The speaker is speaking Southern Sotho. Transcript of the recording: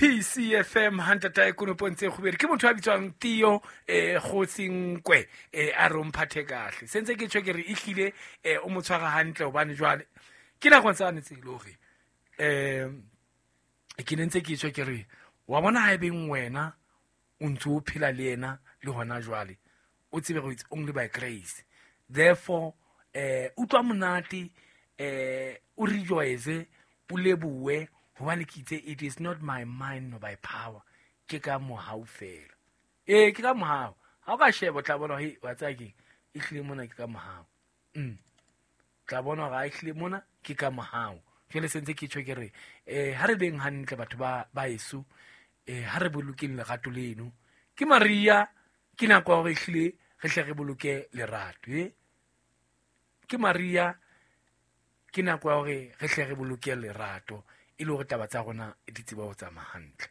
PCFM hantatae konopong tse kgubedi ke motho a bitswang Theo Kgotsinkwe, a re o mphathe kahle. Sentse ke tjho ke re ehlile o mo tshwara hantle, hobane jwale ke nakong tsane tse le hore ke ne ntse ke tjho ke re wa bona ha ebeng wena o ntse o phela le yena le hona jwale, o tsebe gore it's only by grace. Therefore utlwa monate, o rejoice, o lebohe, hobane ke itse it is not my mind nor by power, ke ka mohau fela. Ee, ke ka mohau. Ha o ka sheba o tla bona he wa tsaya keng, e hlile mona ke ka mohau. Tla bona hore ha e hlile mona ke ka mohau. Jwale sentse ke tjho ke re ha re beng hantle batho ba eso, ha re bolokeng lerato leno. Ke Maria, ke nako ya hore ehlile re hle re boloke lerato. Ke Maria, ke nako ya hore re hle re boloke lerato, e le hore taba tsa rona di tsebe ho tsamaya hantle.